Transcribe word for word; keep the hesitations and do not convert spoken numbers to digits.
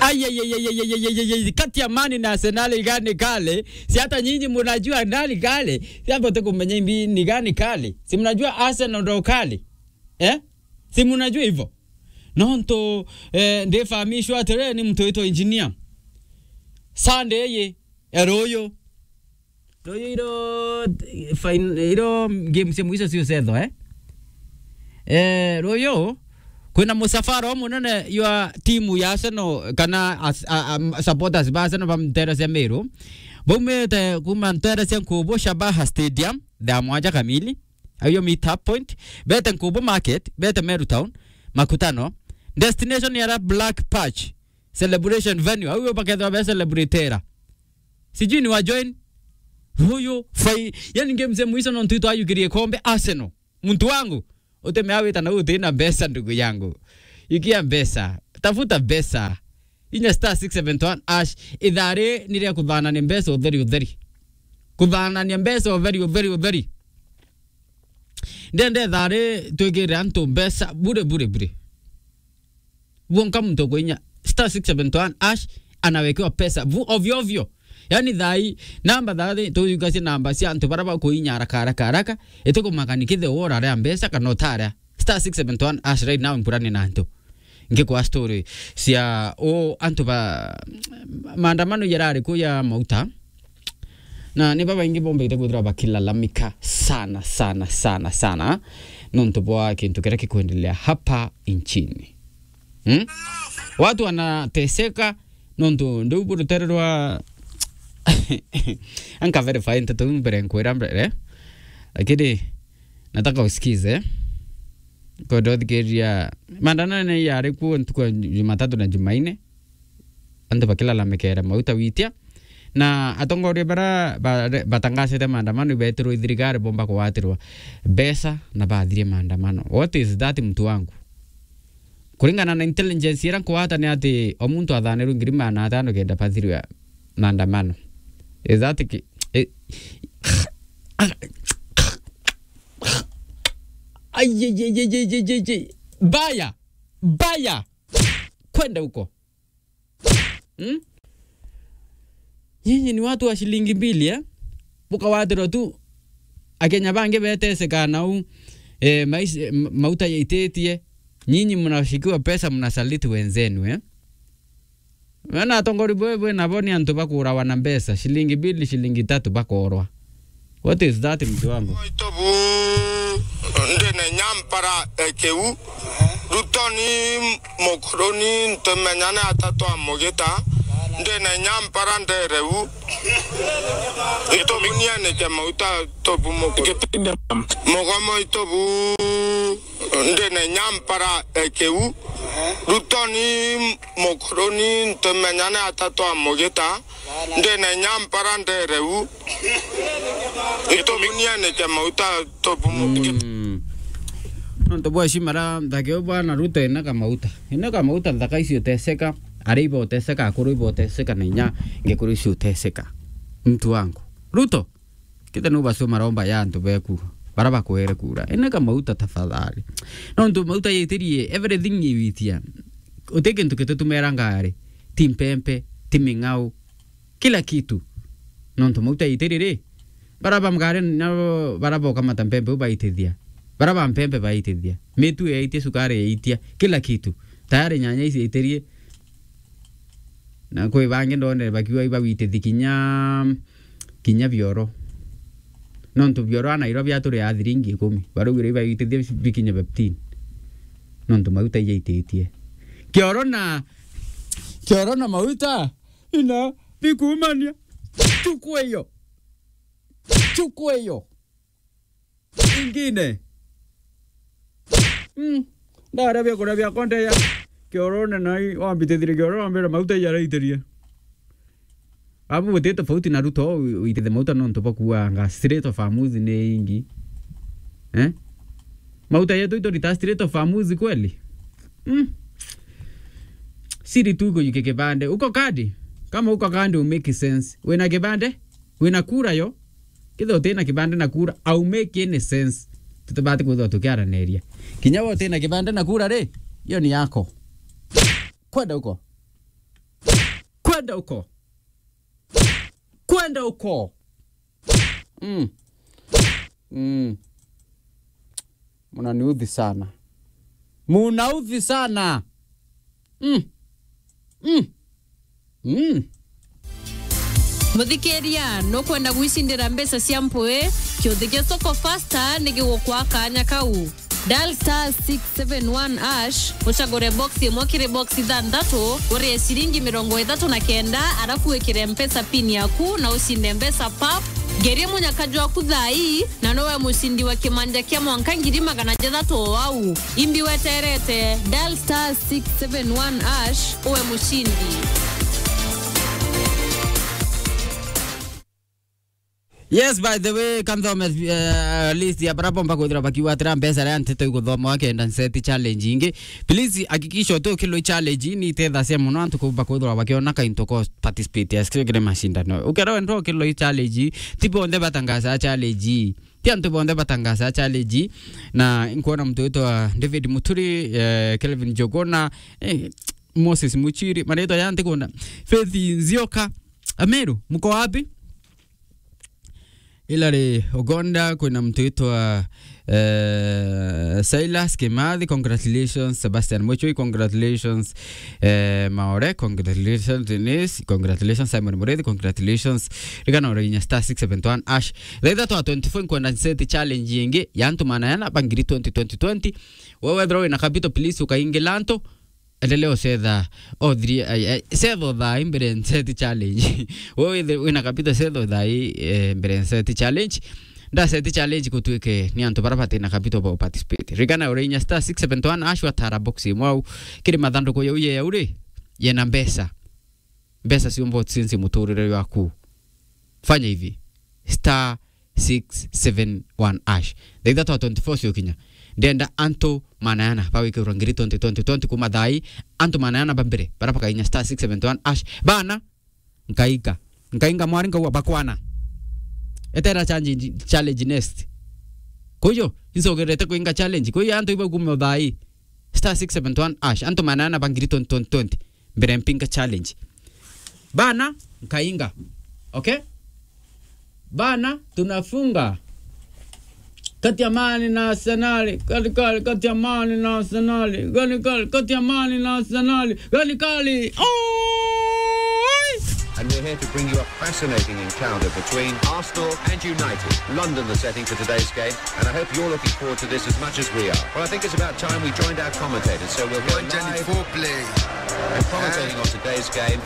Ai, ai, ai, ai, ai, ai, ai, ai, ai, kati ya Man na Arsenal, igani kali? Si hata nyinyi mnajua nani kali? Si hata kumenya imbi ni gani kali? Si mnajua Arsenal ndo kali? Eh? Si mnajua hivyo? Nontu, eh, ndifahamishwa atiri ni mtu witwa engineer. Sunday ye, ya ruyu. Ruyu iro, fine, iro game cia mwisho cio cetho, eh? Eh, ruyu, kwina musafara umunene ywa timu ya Arsenal, kana as-, a, a, supporters ba Arsenal ba ntere cia Meru. Baumite kuma ntere cia Nkubu Shabaha Stadium, thaa mwanja kamili. Ayo meet up point. Bete Nkubu Market, bete Meru Town, makutano. Destination ya Black Patch celebration venue. Au bakethwa be celebratera. Sijui ni wa join. Huyu fai, yani game cia mwisho nontu itwayukirie kombe Arsenal. Muntu wangu, utemea wita na uti na mbeca, ndugu yangu. Ikia mbeca, tafuta mbeca. Inya star six seven one hash, ithari ni ria kuthanania mbeca utheri utheri. Kuthanania mbeca utheri utheri utheri. Ndende ithari twikire antu mbeca bure bure bure. Buonka muntu kuinya star six seven one hash, anawekewa pesa bu ovyo ovyo. Yani thai, namba thai tuyugacie namba cia antu bara bakuinya haraka haraka haraka, itukumakani kithe wora ria mbeca kana utaria. Star six seven one hash right now, mpurani na antu. Ngikwa story cia o antu ba maandamano yarari ku ya Mauta. Na ni babaingi bombite kwithirwa bakilalamika sana, sana, sana, sana, nontu bwa kintu kiria kikwendelea hapa nchini. Hmm? Watu wanateseka, nontu ndiu burutere rwa anka verify nteto mbere nkwira mbere. Lakini nataka usikize. Kondo thikiria. Maandamano yari kuo ntuku ya Jumatatu na Jumaine. Antu bakilalamikera Mauta witia. Na atongoria bara ba-, batangasite maandamano ibetirwe i thirikari bomba kugwatirwa mbeca na bathirie maandamano. What is that, mtu wangu? Kuringana na intelligence ira nkwata ni ati o muntu athanirwe ngiri magana atano kenda bathirwe maandamano. Is that ki-, i-, ai, ai, ai, ai, ai, ai, ai. Baya, baya. Kwenda huko. Hmm? Nyinyi ni watu wa shilingi mbili, eh? Bukawatirwa tu, Akenya bangi beteseka nau, eh, mais-, eh, ma-, mauta yaititie. Nyinyi mnashikiwa pesa, mnasaliti wenzenu, eh? Wena atongori bwe, bwe nabo ni antu bakurawa na mbeca, shilingi mbili, shilingi tatu bakorwa. What is that, mtu wangu? Itobu, ndina inya mpara ekiu. Rutoni mukuruni ntumenyane atatu amugita. Ndina inya mpara ndereu. Itobu nianike mauta tobu mukuru. Mugomo itobu, ndina inya mpara ekiu. Rutoni mukuruni ntumenyane atatu amugita. Ndina inya mpara ndereu. Itobu nianike mauta tobu mukuru. Mm. Nontu bwa heshima ra nthake u bwana Ruto, ina kamauta. Ina kamauta nthaka icio uteseka, aria iba uteseka, akuru iba uteseka, na inya ngekuru icio uteseka. Mtu wangu. Ruto, kita nu bacio maromba ya antu beku, bara bakwere kura. Ina kamauta tafadhali. Nontu mauta yitirie, everything iwitia. Uti kintu kitutumera ngari. Ti mpempe, ti ming'au. Kila kitu. Nontu mauta yaitirie ri, bara ba mgari nabo bara bokamata mpempe u baitithia. Bara ba mpempe baitithia. Mitu yaitia, sukari yaitia, kila kitu. Tayari nyanya ici yaitirie. Na kwi bangi ndonere bakiuga ibawitithi kinya, kinya bioro. Nontu bioro a Nairobi aturi a thiringi ikumi. Baraugire ibawitithi bikinya fifteen. Nontu mauta ijaititie. Kioro na, kioro na mauta. Ina, bikumania. Chuku iyo. Chuku iyo. Ingine. Mm. Ndaria biakuria biakwa ndeya. Kiorone nai, wambitithire kioro, wambira mauta ijaraitirie. Abu buti tofauti na Ruto, wi-, witithe mauta nontu bakuanga straight of Amuzi ni ingi. Eh? Mauta yetu itorita straight of Amuzi kweli? Mm. Siri tu iko yuke kibande. Uko kadi? Kama uko kadi, u make sense. Wina kibande? Wina kura yo? Kithe utina kibande na kura, au make any sense. Tutibati kwithwa tukiaraniria. Kinya we utina kibande na kura ri, iyo ni yako. Kwenda uko. Kwenda huko. Kwenda huko. Mm. Mm. Mnaniudhi sana. Mnaudhi sana. Mm. Mm. Mm. Muthikiria, nukwenda gwicindira mbeca cia mpui? Kiuthi gia Soko Fasta ni gigukwa kanya kau. Dial star six seven one hash, ucagure box imwe kiri box ithanthatu, urie ciringi mirongo ithatu na kenda, arafu wikire Mpesa pin yaku na ucinde mbeca pap. Ngerie munyaka jwaku thaa ii, na nowe mucindi wa kimanja kia mwanka ngiri magana jathatu o au. Imbi weterete, dial star six seven one hash, uwe mucindi. Yes, by the way, kanthome, eh, list ya bara bomba kwithirwa bakiuga atira mbeca ria ntito iguthoma wakenda nseti challenge ingi. Please, hakikisha uti ukiloi challenge ni itethacia muno antu kumba kwithirwa bakiona kainto ko participate as kiri mashindano. Ukera wendwa ukiloi challenge, ti bonthe batangaza challenge. Ti antu bonthe batangaza challenge. Na nkuona mtu witwa David Muturi, eh, Kelvin Jogona, eh, Moses Muchiri, maritwa ya ntikunda. Faith Nzioka, Ameru, mko wapi? Hilary Ogonda, kwina mtu witwa, eh, Silas Kimathi, congratulations. Sebastian Muchui, congratulations. Eh, Maore, congratulations. Denise, congratulations. Simon Murithi, congratulations. Rigana uraginya star six seven one hash. Thaa ithatu twenty-four nkwenda nseti challenge ingi ya antu magana jana ba ngiri twenty, twenty, twenty. Wewe wethirwa wina capital, please ukaingila antu. Endelea ucetha. O three, ai, ai, cetha o thaa ii mbere nseti challenge. Wewe withe-, wina capital, cetha o thaa ii, eh, mbere nseti challenge. Nda seti challenge gutwike ni antu bara batina capital ba participate. Rigana urainya star six seven one hash watara box imwe au. Kiri mathanduku yau ye yau ri, yena mbeca. Mbeca ciumba ucinci muturire waku. Fanya hivi. Star six seven one hash. Thaa ithatu twenty-four ciokinya. Ndenda antu magana jana bawikirwa ngiri twenty, twenty, twenty kuma thaa ii. Antu magana jana ba mbere, bara bakainya star six seven one hash. Bana, nkainga. Nkainga mwari nkauga bakwana. Etera challenge, challenge next. Kwa hiyo, incogerete kuinga challenge. Kwa hiyo, antu iba kume thaa ii. Star six seven one hash. Antu magana jana ba ngiri twenty, twenty, twenty. Mbere mpinga challenge. Bana, nkainga. Okay? Bana, tunafunga. Kati ya Man na Arsenal, kali kali, kati ya Man na Arsenal, kali kali, kati ya Man na Arsenal, kali kali. Oi! And we're here to bring you a fascinating encounter between Arsenal and United. London, the setting for today's game, and I hope you're looking forward to this as much as we are. Well, I think it's about time we joined our commentators, so we'll go live and commentating on today's game.